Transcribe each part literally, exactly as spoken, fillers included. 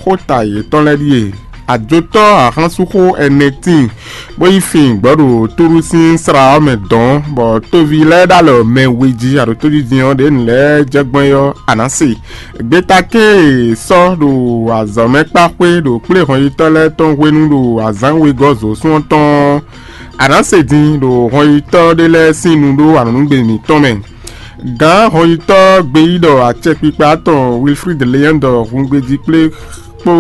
Xóta yětɔn lɛ́ɛ ɖíe: Ajotɔ́ ahánsuxó ɛnɛ tíin, bó yi fin gbɔ̌ ɖo Túru sín slá ɔ́ mɛ dɔ̌n, bɔ toví lɛ́ɛ ɖo alɔ mɛ we jí aɖǒtójijɛ ɔ́ ɖě nǔ lɛ́ɛ jɛ gbɔn é ɔ́, a nǎ se. Gbeta kɛ́n e è sɔ́ ɖo azɔ̌ mɛ kpá xwé ɖo kplé hɔnyitɔ́ lɛ́ɛ tɔn hwenu ɖo azǎn wegɔ́ zǒsún ɔ́ tɔn ɔ́, a nǎ se din ɖo hɔnyitɔ́ ɖé lɛ́ɛ sín nu ɖó anɔ̌nugbe mǐtɔn mɛ. Gǎn hɔnyitɔ́ gbeyíɖɔ acɛkpikpa tɔn Wilfrid Leandre hun gbejí kplé kpó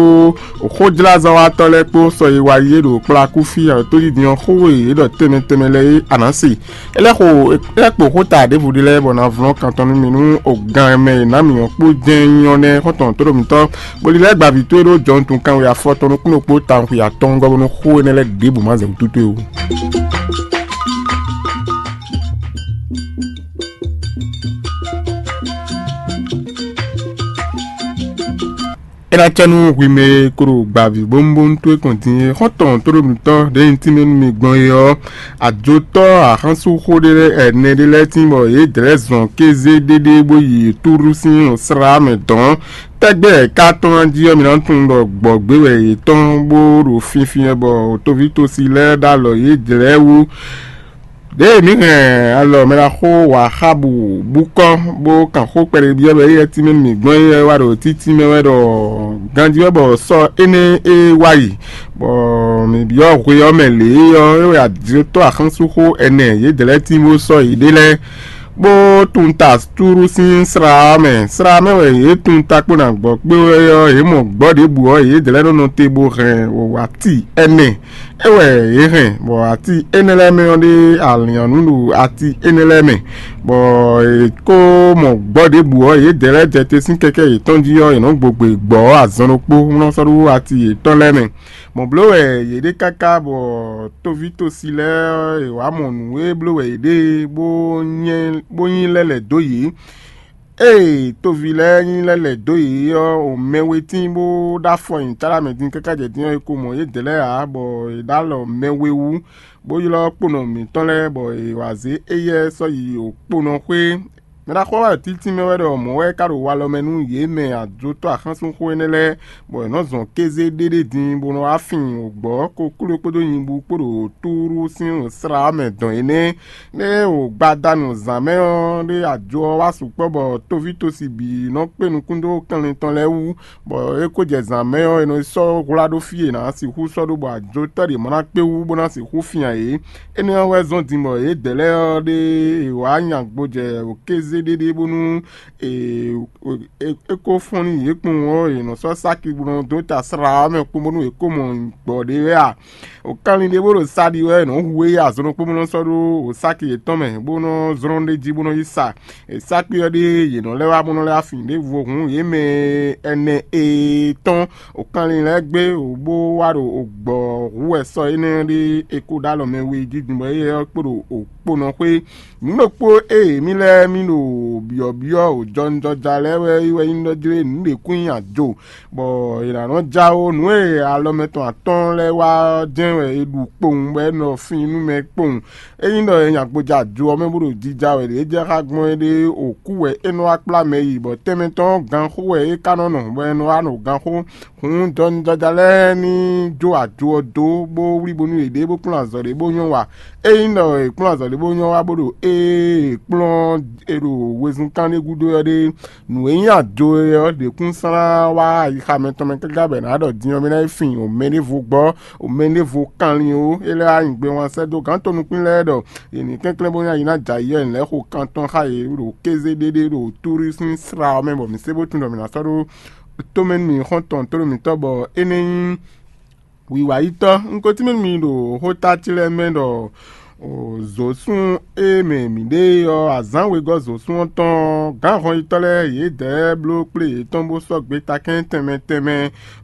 xójlázɔ́watɔ́ lɛ́ɛ kpó sɔ e wá yi é ɖo kplakúfí aɖǒtójijɛ ɔ́ xó e yě ɖɔ tɛnmɛ tɛnmɛ lɛ́ɛ é, a nǎ se. É lɛ́ xo é lɛ́ kpo xóta ɖěvo ɖé lɛ́ɛ bɔ ná vlɔ́n kan tɔn nú mi nú o gan mɛ e nǎ mǐ ɔ́ kpó jɛ́n nyí ɔ́ nɛ́ xɔ́ntɔn tóɖó mǐtɔn, bó lílɛ́ gba vǐ towe ɖó jɔnutun kanwe afɔtɔn nukúnnú kpó tawun xwe atɔ́ɔ́ngɔ́ bónú xó énɛ́ lɛ́ɛ ɖěbǔ má zɛ wú towe ó. É ná cɛ nú hwi mɛ e ko ɖo gbavǐ bónúbónú towe kɔn din é. Xɔ́ntɔn tóɖónútɔ́ ɖě nyí tínmɛ nú mi gbɔn é ɔ́, ajotɔ́ axánsúxó ɖé lɛ́ɛ ɛnɛ ɖé lɛ́ɛ tín bɔ yě dlɛ̌ zɔn kézé ɖéɖé bó yi Túru sín slá mɛ dɔ̌n. Tɛ́gbɛ ka tɔn jí ɔ́, mi ná tunwun ɖɔ gbɔ̌gbé wɛ yě tɔn bó ɖo finfin wɛ bɔ toví tosi lɛ́ɛ ɖo alɔ yě dlɛ̌ wú. Ɖěe mǐ hɛn alɔ mɛ ɖaxó Waxábu bú kɔ́, bó kan xó kpɛɖé byɔ́ ɖɔ éyɛ́ tínmɛ nú mǐ gbɔn é wá ɖo títí mɛ wɛ ɖɔ ganjí wɛ bɔ sɔ́ énɛ́ e wá yi, bɔ mǐ byɔ́ hwe ɔ́ mɛ lě é ɔ́, é wɛ ajotɔ́ axánsúxó ɛnɛ yědɛɛ lɛ́ɛ tín bó sɔ́ yěɖée lɛ́ɛ, bó tunwun ta Túru sín slá ɔ́ mɛ. Slá mɛ wɛ yě tunwun ta kpó ná gbɔ kpé wɛ ɔ́, yě mɔ gbɔ̌ ɖěbǔ ɔ́, yědɛɛ lɛ́ɛ nɔ nɔ te bó hɛn wǎti ɛnɛ. É wɛ yě hɛn, bɔ ati énɛ́ lɛ́ɛ mɛ ɔ́ ɖe alǐannú ɖo ati énɛ́ lɛ́ɛ mɛ, bɔ è ko mɔ gbɔ̌ ɖěbǔ ɔ́, yědɛɛ lɛ́ɛ jɛ te sín kɛkɛ́ yětɔn jí ɔ́, yě nɔ gbogbe gbɔ̌ azɔn ɖokpó, bó nɔ́ sɔ́ ɖó ati yětɔn lɛ́ɛ mɛ. Mɔ̌ bló wɛ yě ɖe káká bɔ tóví tosi lɛ́ɛ ɔ́, è wǎ mɔ nǔ e bló wɛ yě ɖe bó nyɛ bó nyí lɛ́ lɛ̌ dó yě. Ée toví lɛ́ɛ nyí lɛ́ lɛ̌ dó yě ɔ́, o mɛ we tíin bó ɖó afɔ nyi táɖa mɛ din káká jɛ din ɔ́, è ko mɔ yědɛɛ lɛ́ɛ ǎ, bɔ è ɖó alɔ mɛ we wú, bó ylɔ́ kponɔ mǐtɔn lɛ́ɛ, bɔ è wǎ zé éyɛ́ sɔ́ yi okponɔ xwé. Mɛ ɖaxó ɔ́ wá ɖo títí mɛ wɛ ɖɔ mɔ̌ wɛ ka ɖo walɔ mɛ nú yě mɛ ajotɔ́ axánsúnxó énɛ́ lɛ́ɛ, bɔ è nɔ zɔn kéze ɖéɖé din bó nɔ wá fin wǒgbɔ́ kokló kpódó nyibú kpó ɖo Túru sín slá mɛ dɔn énɛ́. Nɛ́ o gbadanu zǎn mɛ ɔ́ ɖé ajo ɔ́ wá sukpɔ́ bɔ tóví tosi bǐ nɔ kpé nukún dó kanlin tɔn lɛ́ɛ wú, bɔ é ko jɛ zǎn mɛ ɔ́, è nɔ yi sɔ́ hwlá ɖó fí e è nǎ sixú sɔ́ ɖó bɔ ajotɔ́ ɖě mɔ ná kpé wú bó ná sixú fin ǎ é. Énɛ́ ɔ́ wɛ zɔ́n din bɔ yědɛɛ lɛ́ɛ ɔ́ ɖe è wǎ nya gbo jɛ wǒkézé ɖéɖé bónú è è- è- é kó fɔ́n nú yě kpowun ɔ́, è nɔ sɔ́ sáki bó nɔ dó ta slá ɔ́ mɛ kpó bónú è kó mɔ gbɔ̌ ɖé wɛ a? O kanlin ɖé bó ɖo sa ɖi wɛ è nɔ hu é azɔn ɖokpó bó nɔ sɔ́ ɖó o sáki yětɔn mɛ bó nɔ zlɔ́n ɖ'é jí bó nɔ yi sa. E sáki ɔ́ ɖíe yě nɔ lɛ́ wá bó nɔ lɛ́ wá fin ɖěvo hǔn yě mɛ ɛnɛ e tɔn o kanlin lɛ́ɛ gbé o bó wá ɖo o gbɔ̌ hu wɛ sɔ́ énɛ́ ɔ́ ɖíe è ko ɖó alɔ mɛ we jí din bɔ éyɛ́ ɔ́ kpo ɖo o kponɔ xwé. Nǔ ɖokpó e mì lɛ́ɛ mì ɖo byɔ̌byɔ́ o jɔnjɔja lɛ́ɛ wɛ é wɛ nyí ɖɔ jlé nǔ ɖě kún nyi ajo, bɔ è nǎ nɔ jáwó nǔ e alɔ mɛtɔn atɔ́ɔ́n lɛ́ɛ wa ɔ́ jɛ́n wɛ è ɖu kpowun bɔ é nɔ fin nú mɛ kpowun. Ényí ɖɔ è nya gbɔjɛ ajo ɔ́ mɛ bó ɖo jija wɛ ɖě é jɛ xá gbɔn é ɖe o kú wɛ é nɔ wá kplá mɛ yi, bɔ tɛnmɛ tɔn ɔ́ ganxó wɛ é ka nɔ nɔ, bɔ è nɔ wá nɔ ganxó. Hǔn jɔnijɔja lɛ́ɛ ní jó ajo ɔ́ dó, bó wlí bónú yěɖée bó kplɔ́n azɔ̌ ɖé bó nyɔ́ wa. Ényí ɖɔ è kplɔ́n azɔ̌ ɖé bó nyɔ́ wa bó ɖo ée è kplɔ́n è ɖo wezun kán ɖé gúdo ɔ́ ɖe, nǔ e nyí ajo é ɔ́ ɖě kún slán wá ayixa mɛtɔn mɛ káká bɔ è nǎ ɖɔ din ɔ́ mì ná yi fin o mɛ ɖěvo gbɔ, o mɛ ɖěvo kanlin ó. É lɛ́ wá nyi gbe wán sɛ́ dó gǎn tɔn nukún lɛ́ɛ ɖɔ yě ní kɛnklɛ́n bó ná yi ná jɛ ayǐ ɔ́, è nǐ lɛ́ xo kan tɔn xá yě ɖo kéze ɖéɖé ɖo Túru sín slá ɔ́ mɛ bɔ mǐ sé bó tunwun ɖɔ mǐ ná sɔ́ ɖó tomɛ nú mì xɔ́ntɔn tlóló mǐtɔn bɔ é nɛ́ nyí wiwa yítɔ́. Un ko tínmɛ nú mi ɖo xóta ce lɛ́ɛ mɛ ɖɔ zǒsún e mɛ mǐ ɖe ɔ́, azǎn wegɔ́ zǒsún ɔ́ tɔn ɔ́, gǎn hɔnyitɔ́ lɛ́ɛ yědɛɛ bló kplé yětɔn bó sɔ́ gbeta kɛ́n tɛnmɛ tɛnmɛ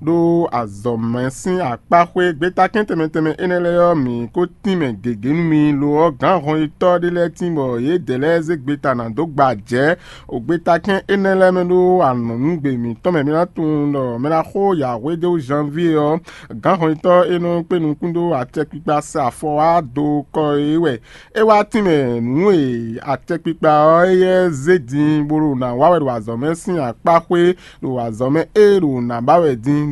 ɖó azɔ̌mɛ sín akpá xwé. Gbeta kɛ́n tɛnmɛ tɛnmɛ énɛ́ lɛ́ɛ ɔ́, mǐ ko tínmɛ gěgé nú mi. Lo ɔ́, gǎn hɔnyitɔ́ ɖé lɛ́ɛ tín bɔ yědɛɛ lɛ́ɛ zé gbeta ná dó gba jɛ̌. Ogbeta kɛ́n énɛ́ lɛ́ɛ mɛ ɖó anɔ̌nugbe mǐtɔn mɛ mi ná tunwun ɖɔ mɛ ná xo yǎhwédó Janvier ɔ́, gǎn hɔnyitɔ́ e nɔ kpé nukún dó acɛkpikpa sɛ afɔ wá do kɔ é wɛ. É wá tínmɛ nǔ e acɛkpikpa ɔ́ éyɛ́ zé din bó ɖo nǎ wa wɛ ɖo azɔ̌ mɛ sín akpá xwé ɖo azɔ̌ mɛ e ɖo nǎ ba wɛ din ɖo